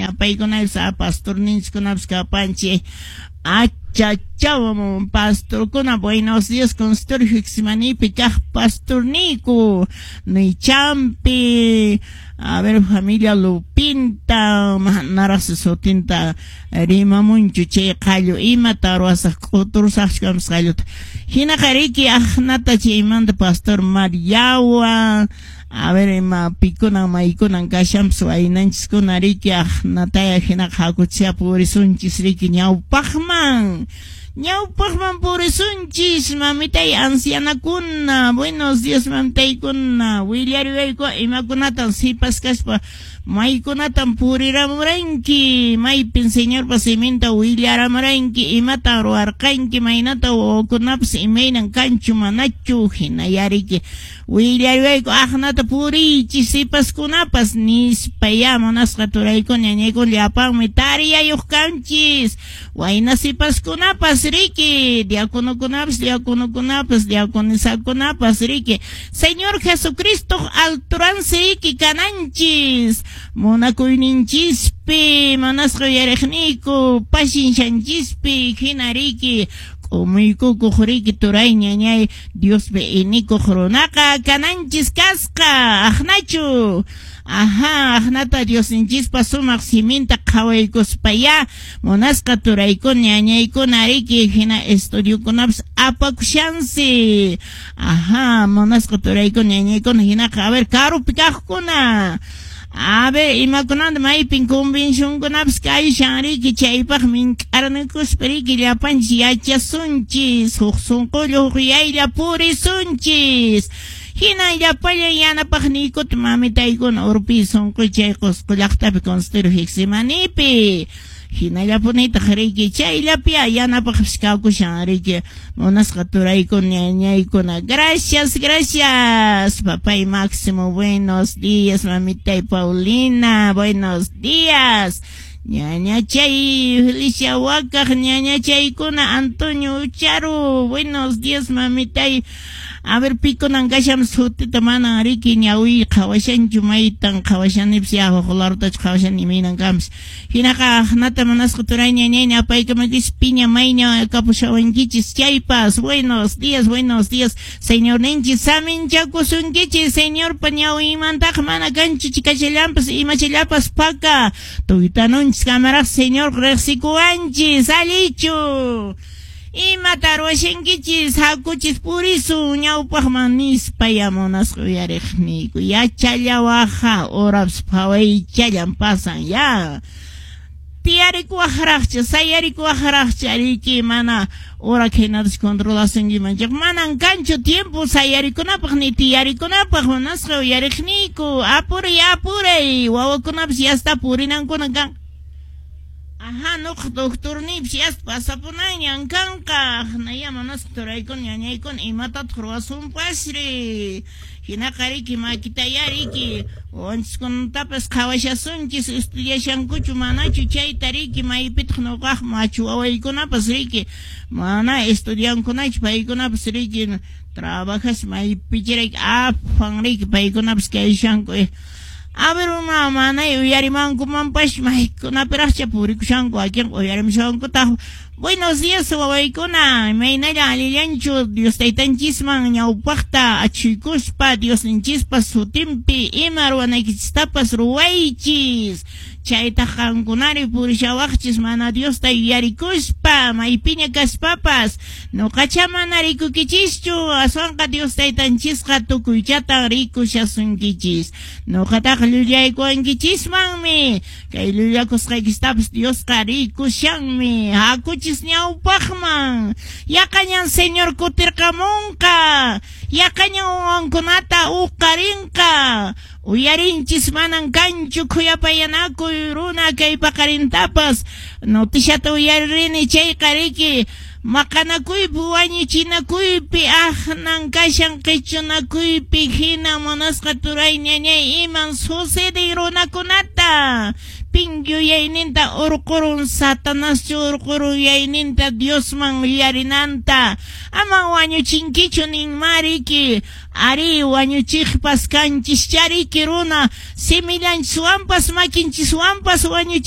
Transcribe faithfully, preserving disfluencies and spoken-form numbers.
Ñapaykunapis a pastorninchikkunapas kapanchik. Achachaw pastorkuna, buenos días, consultorio Getsemanípi kaq pastorniku Nichampi. A ver, familia Lupinta, manaraqsi sutinta rimamunchu chay qallu, imata ruwasaq, k'uturusaqchu qalluta. Hinaqa riki aqnata chaymanta pastor Mariawa. A ver, ima pikunan maykunan kashanpas waynanchiskuna riki aqnataya. Hinaqa hakuchia purisunchis riki ñawpaqman. Ñawpaqman purisunchis, mamitay ancianakuna. Buenos días, mamitaykuna. Willariwayku imakunatan sipas kaspa maykunatan puriramuranki, maypin Señorpa siminta willaramuranki, imatan ruwarqanki, maynata wawakunapas imaynan kanchu manachu, hinayariki willariwayku aqnata puriychis sipaskunapas nispa ya munasqa turaykuna ñañaykuna llapanmi tariyayuq kanchis wayna sipaskunapas riki diaconokunapas diaconokunapas diaconisakunapas riki Señor Jesucristo alturansi riki kananchis munakuyninchispi munasqa uyariqniyku pashinshanchispi hina riki k'umuykukuq riki turay ñañay Diospi inikuq runaqa kananchis kasqa aqnachu. Ajá, aqnata Diosninchispa sumaq siminta qhawaykuspaya munasqa turaykuna ñañaykuna riki hina estudiokunapas apakushansi. Ajá, munasqa turaykuna ñañaykuna hinaqa a ver karupi kaqkuna. A ver, imakunanta maypin convencionkunapas kayshan riki chaypaq mink'arnakuspa riki llapanchis yachasunchis huk sunqulla huk yaylla purisunchis. Hina llapallan yanapaqniykuta mamitaykuna urpi sunqu chay Qusqu llaqtapi consultorio Getsemanipi. Hinallapunitaq riki chayllapi yanapaqpis kakushan riki munasqa turaykuna ñañaykuna. Gracias, gracias. Papay Máximo, buenos días. Mamitay Paulina, buenos días. Ñañachay Felicia Wakaq, ñañachaykuna Antonio Ucharu, buenos días, mamitay. A ver, pikunan kashan sutita manan riki ñawi qhawashanchu maytan qhawashanipis ya huk larutachu qhawashan imaynan kanpis. Hinaqa aqnata munasqa turay ñañay apaykamakis piña mayña kapushawankichis chaypas. Buenos días, buenos días. Señorninchis saminchakusunkichis Señorpa ñawinmantaqa mana kanchu chikachallanpas imachallapas paka. Tuytanunchis kamaraq Señor riqsikuwanchis allichu. Imata ruwashankichis hakuchis purisun ñawpaqman nispa ya munasqa uyariqniyku yachallawaqa horapas phawaychallan pasan ya tiyarikuwaqraqcha sayarikuwaqraqcha riki mana hora hinatas controlasunkiman manan kanchu tiempo sayarikunapaq ni tiyarikunapaq munasqa uyariqniyku apuray apuray wawakunapas yasta purinankuna kan. Ajá, no, doctor nipis yasta pasapunanñan kanqa naya munasqa turaykuna ñañaykuna imatataq ruwasunpasri hinaqa riki makitaya riki wawanchiskunatapas qhawashasunchis estudiashankuchu manachu chayta riki maypitaq nuqaq machu wawaykunapas riki mana estudiankunachu paykunapas riki trabajas maypichirayki afan riki paykunapas kayshanku. A ver, uma manay uyarimankumanpas maykunapiraqcha purikushanku wakin uyarimushankutaq. Buenos días, wawaykuna. Imaynalla allillanchu Dios taytanchisman ñawpaqta achuykuspa Diosninchispa sutinpi ima ruwanaykichistapas ruwaychis. Chaytaq qankunari purishawaqchis mana Diosta yuyarikuspa maypiña kaspapas. Nuqacha mana rikukichischu aswanqa Dios taytanchisqa tukuychatan rikushasunkichis. Nuqataqa llullaykuwankichismanmi. Kay llullakusqaykistapas Diosqa rikushanmi. Hakuchis ñawpaqman. Yaqañan Señor kutirqamunqa. Yaqañan wawankunata uqarinqa. Uyarinchis manan kanchu khuyapayanakuy runa kay paqarintapas. Noticiata uyarini chayqa riki maqanakuypi wañuchinakuypi aqnan kashan qichunakuypi hina munasqa turay ñañay iman suceden runakunata. Pin yuyayninta urqurun Satanaschu urqurun yuyayninta Diosman yuyarinanta. Ama wañuchinkichu ninmariki. Ari wañuchiqpas kanchis chariki runa simillanchiswanpas makinchiswanpas wañuchinchis.